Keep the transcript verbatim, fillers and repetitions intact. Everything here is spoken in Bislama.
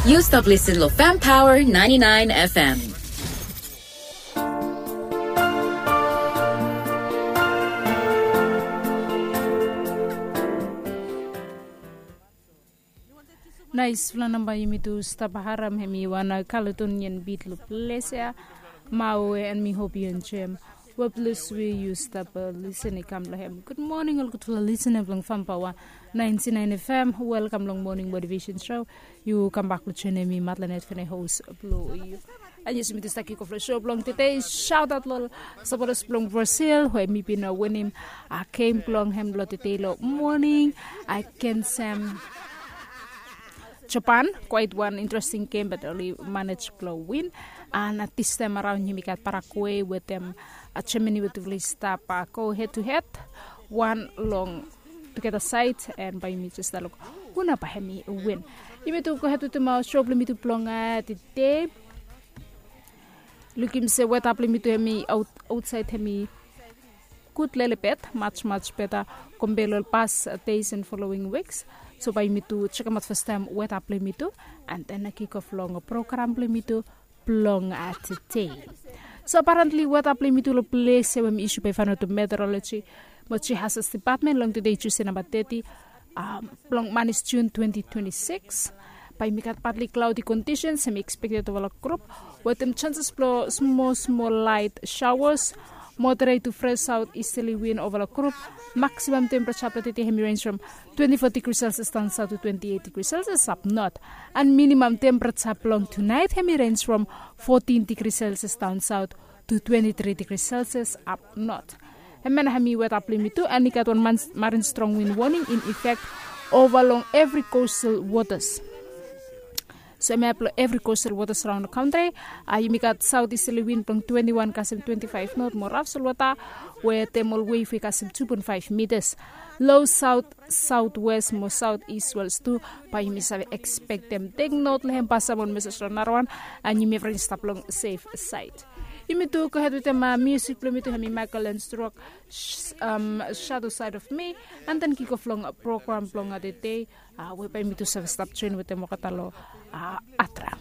Yu stap lisin lo Fam Power ninety-nine F M. Naisfala namba yumi tu stap harem hemi wan Caledonian beat lo ples ya. Mawe, and mi hope yu enjoem. Web lo swe yu stap lisin i kam lo hem. Good morning ol gudfala lisin blong Fam Power ninety-nine F M. Welcome long morning motivation show. Yu kambak lo joinim mi, Matlanet Fene, host blo yu. And yes, mi tu stap kick off lo show blong tede. Shout out lo ol supporters blong Brazil we mi bin winim a game blong hem lo tede lo morning against um, Japan. Quite one interesting game, but oli manage blo win. And at this time around yumi gat Paraguay wetem uh, Germany we tufala i stap uh, go head to head. Wan long tugeta side, and bae yumi jes luk hu nao bae hemi win. Yumi tu go head wetem uh, show blo yumi tu blong uh, tede. Lukim se weta blo yumi tu hemi aotsaed hemi gud lelebet, much much beta compare lo ol past days and following weeks. So bae yumi tu jekemaot fastaem weta blo yumi tu, and then kick off long program blo yumi tu blong tede. So apparently weta blo yumi tu lo ples ya we mi isu bae i faenot lo meteorology mo Jihazas Department long tede Tuesday namba thirty, um, blong manis June twenty twenty-six. Bae yumi gat partly cloudy conditions hemi expected ova lo group wetem chances blo smol smol light showers. Moderate to fresh southeasterly wind ova lo group. Maximum temperature blo tede hemi range from twenty-four degrees Celsius down south to twenty-eight degrees Celsius up north. And minimum temperature blong tonight hemi range from fourteen degrees Celsius down south to twenty-three degrees Celsius up north. Hemia nao hemi weta blo yumi tu, and i gat wan marine strong wind warning in effect ova long evri coastal waters. So hemia blo evri coastal waters around the country, uh, yumi gat southeasterly wind blong twenty-one kasem twenty-five knot mo raf solwota wetem ol wave we kasem two point five meters. Low south southwest mo southeast swells tu, bae yumi save expectem. Tek not lo hem, pasaem on mesej lo narawan, and yumi evriwan stap long safe side. Yumi tu go head wetem uh, music blo yumi tu hemi Michael Learns to Rock, sh- um, Shadow Side of Me, and then kick off long program blong tede, uh, we bae yumi tu save stap join wetem olgeta lo uh, Atra.